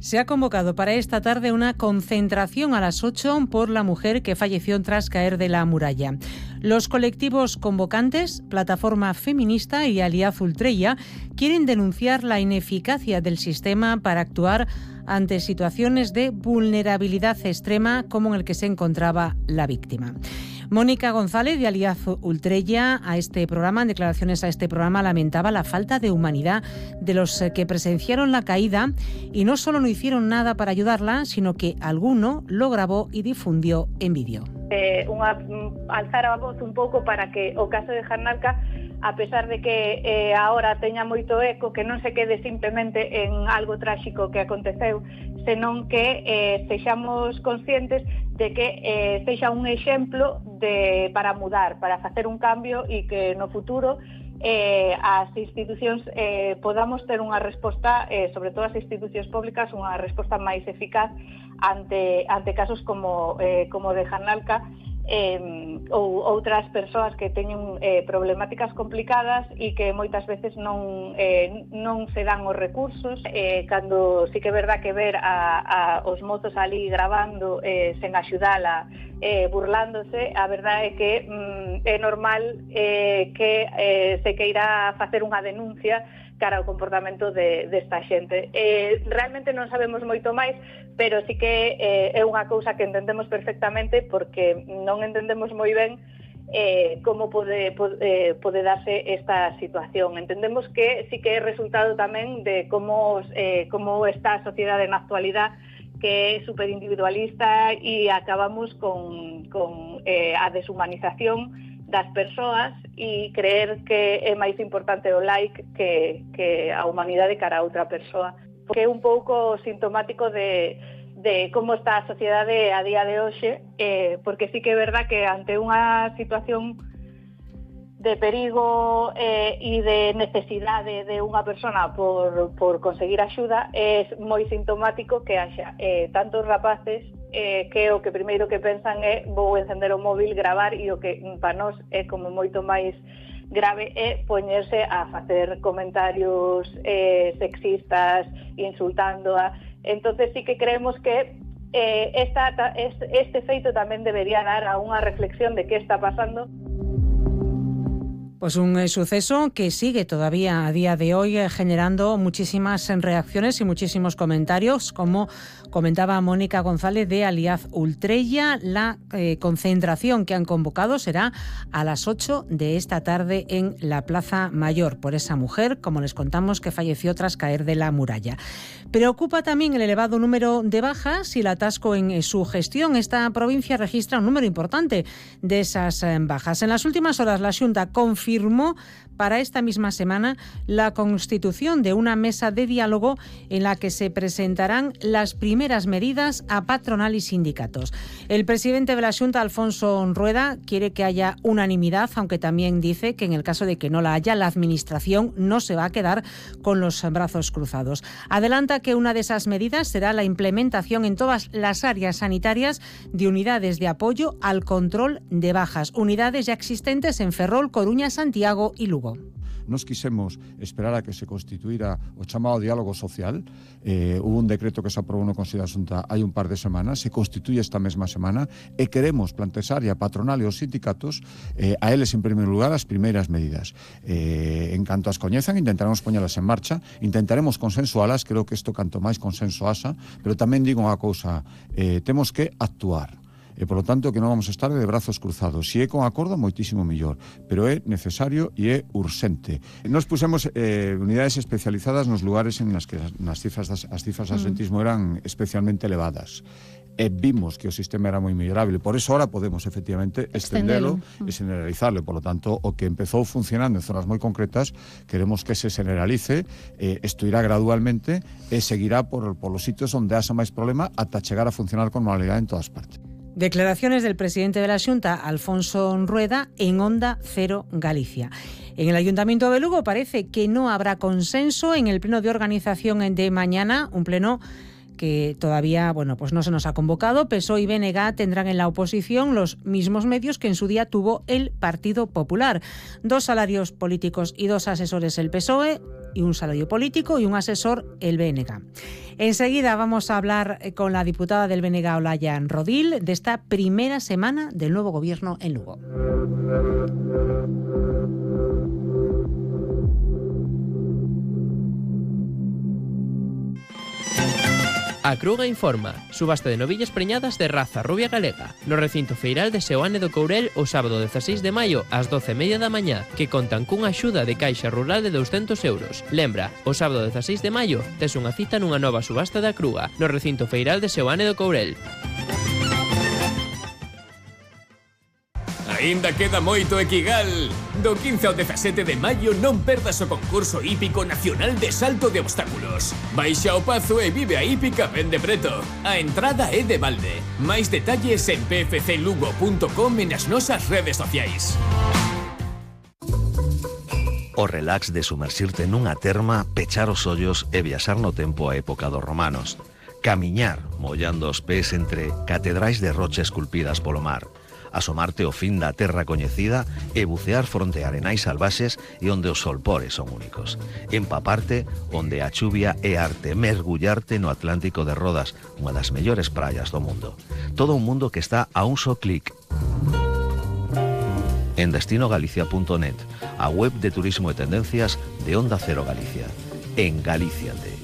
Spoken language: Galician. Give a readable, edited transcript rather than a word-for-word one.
Se ha convocado para esta tarde una concentración a las 8 por la mujer que falleció tras caer de la muralla. Los colectivos convocantes, Plataforma Feminista y Alianza Ultreya, quieren denunciar la ineficacia del sistema para actuar ante situaciones de vulnerabilidad extrema como en el que se encontraba la víctima. Mónica González, de Alianza Ultreya, en declaraciones a este programa, lamentaba la falta de humanidad de los que presenciaron la caída y no solo no hicieron nada para ayudarla, sino que alguno lo grabó y difundió en vídeo. Alzar a voz un pouco para que o caso de Jarnalca, a pesar de que ahora teña moito eco, que non se quede simplemente en algo tráxico que aconteceu, senón que sexamos conscientes de que sexa un exemplo para mudar, para facer un cambio e que no futuro as institucións podamos ter unha resposta, sobre todo as institucións públicas, unha resposta máis eficaz ante casos como de Jarnalca, ou outras persoas que teñen problemáticas complicadas e que moitas veces non se dan os recursos. Cando sí que é verdad que ver os mozos ali grabando sen axudala, burlándose, a verdade é que é normal que se queira facer unha denuncia cara ao comportamento desta xente. Realmente non sabemos moito máis, pero sí que é unha cousa que entendemos perfectamente, porque non entendemos moi ben como pode darse esta situación. Entendemos que sí que é resultado tamén de como está a sociedade na actualidade, que é superindividualista, e acabamos con a deshumanización das persoas e creer que é máis importante o like que a humanidade cara a outra persoa. Que é un pouco sintomático de como está a sociedade a día de hoxe, porque sí que é verdad que ante unha situación de perigo e de necesidade de unha persona por conseguir axuda, é moi sintomático que haxa tantos rapaces que o que primeiro que pensan é vou encender o móvil, gravar, e o que para nós é como moito máis grave é poñerse a facer comentarios sexistas, insultándoa. Entonces sí que creemos que este feito tamén debería dar a unha reflexión de que está pasando. Pues un suceso que sigue todavía a día de hoy generando muchísimas reacciones y muchísimos comentarios, como comentaba Mónica González de Alianza Ultreya. La concentración que han convocado será a las 8 de esta tarde en la Plaza Mayor por esa mujer, como les contamos, que falleció tras caer de la muralla. Preocupa también el elevado número de bajas y el atasco en su gestión. Esta provincia registra un número importante de esas bajas. En las últimas horas la Xunta confirmó para esta misma semana la constitución de una mesa de diálogo en la que se presentarán las primeras medidas a patronal y sindicatos. El presidente de la Xunta, Alfonso Rueda, quiere que haya unanimidad, aunque también dice que en el caso de que no la haya, la Administración no se va a quedar con los brazos cruzados. Adelanta que una de esas medidas será la implementación en todas las áreas sanitarias de unidades de apoyo al control de bajas, unidades ya existentes en Ferrol, Coruña, Santiago y Lugo. Nos quisemos esperar a que se constituíra o chamado diálogo social. Hubo un decreto que se aprobou no Consello da Xunta hai un par de semanas, se constituye esta mesma semana, e queremos plantexar a patronal e os sindicatos a eles en primeiro lugar as primeiras medidas. En canto as coñezan, intentaremos poñelas en marcha, intentaremos consensualas, creo que isto canto máis consenso haxa, pero tamén digo unha cousa, temos que actuar. E, por lo tanto, que non vamos a estar de brazos cruzados. Se é con acordo, moitísimo mellor, pero é necesario e é urxente. Nos pusemos unidades especializadas nos lugares en las que as cifras de absentismo eran especialmente elevadas. E vimos que o sistema era moi mellorable. Por eso ahora podemos, efectivamente, estendelo e generalizarlo. Por lo tanto, o que empezou funcionando en zonas moi concretas, queremos que se generalice, isto irá gradualmente e seguirá por los sitios onde haxa máis problema ata chegar a funcionar con normalidade en todas partes. Declaraciones del presidente de la Xunta, Alfonso Rueda, en Onda Cero Galicia. En el Ayuntamiento de Lugo parece que no habrá consenso en el pleno de organización de mañana, un pleno que todavía, pues no se nos ha convocado. PSOE y BNG tendrán en la oposición los mismos medios que en su día tuvo el Partido Popular. 2 salarios políticos y 2 asesores el PSOE, y un salario político y un asesor, el BNG. Enseguida vamos a hablar con la diputada del BNG, Olaya Rodil, de esta primera semana del nuevo gobierno en Lugo. A Cruga informa, subasta de novillas preñadas de raza rubia galega no recinto feiral de Seoane do Courel o sábado 16 de maio ás 12:30 da mañá, que contan cunha axuda de Caixa Rural de 200 euros. Lembra, o sábado 16 de maio tes unha cita nunha nova subasta da Cruga no recinto feiral de Seoane do Courel. Ainda queda moito Equigal. Do 15 ao 17 de maio non perdas o concurso hípico nacional de salto de obstáculos. Baixa ao Pazo e vive a hípica ben de preto. A entrada é de balde. Máis detalles en pfclugo.com e nas nosas redes sociais. O relax de sumerxirte nunha terma, pechar os ollos e viaxar no tempo á época dos romanos. Camiñar, mollando os pés entre catedrais de rocha esculpidas polo mar. Asomarte ao fin da terra coñecida e bucear fronte a arenais salvaxes e onde os solpores son únicos. Empaparte onde a chuvia é arte, mergullarte no Atlántico de Rodas, unha das mellores praias do mundo. Todo un mundo que está a un só clic. En destinogalicia.net, a web de turismo e tendencias de Onda Cero Galicia. En Galíciate.